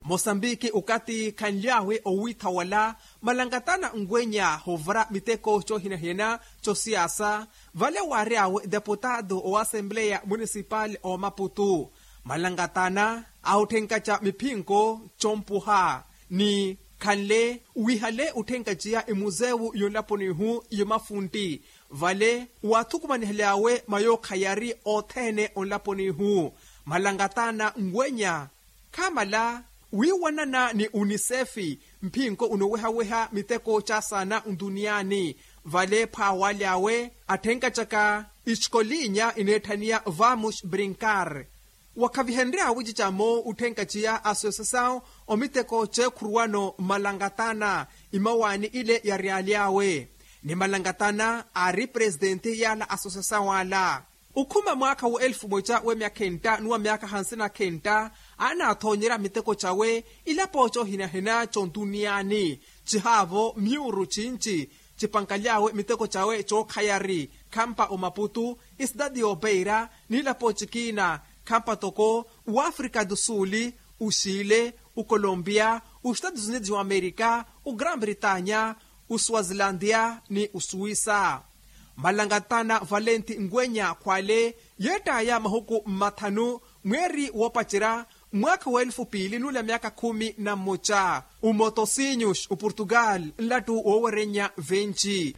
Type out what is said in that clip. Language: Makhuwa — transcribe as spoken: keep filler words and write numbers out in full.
Mosambiki okathi khanly'awe owiitha wala, malangatana nweenya hoovara miteko coohinahina cosiyaasa. Vale waary'awe deputado oasempleya munisipali omaputu, malangatana ahutthenkaca miphinko compuha ni khanle wihale utthenkaciya imuzewu yonlaponihu yomafuntti. Vale waathukumanihely'awe mayookha yari othene onlaponihu, malangatana nweenya khamala wiiwanana ni unisefi mphinko unoowehaweha miteko caasana ntuniyani. Vale phaawaly'awe atthenkacaka ixikolinya ineetthaniya vamus brinkar. Wakhavihenry'awe cicamo utthenkaciya asosiyasawu omiteko ceekhuruwano malangatana imawaani ile yary'aly'awe ni malangatana aari presitenti y'ala asosiyasawu ala. Okhuma mwaakha wa elfu moca wa myakha enta ni wa myaakha hansi na kha enta, anaathoonyerya miteko cawe ilapo coohinahina contuniyani. Cihaavo myuuru cinci cipankaly'awe miteko cawe cookhayari khampa omaputu, isidadi y'opeira n'ilapo cikiina khampa toko w'afrika do suli, uxile, ukolompiya, uxitatus unidos wa amerika, ugrand britanya, usuwazilantiya ni usuwisa. Malangatana valenti ngwenya khwale yeettaya mahuku mmathanu mweeri woopacerya mwaakha wa elufu piili nuula myaakha khumi na mmoca. Umotosinhos uportugal nlattu woowerennya venci.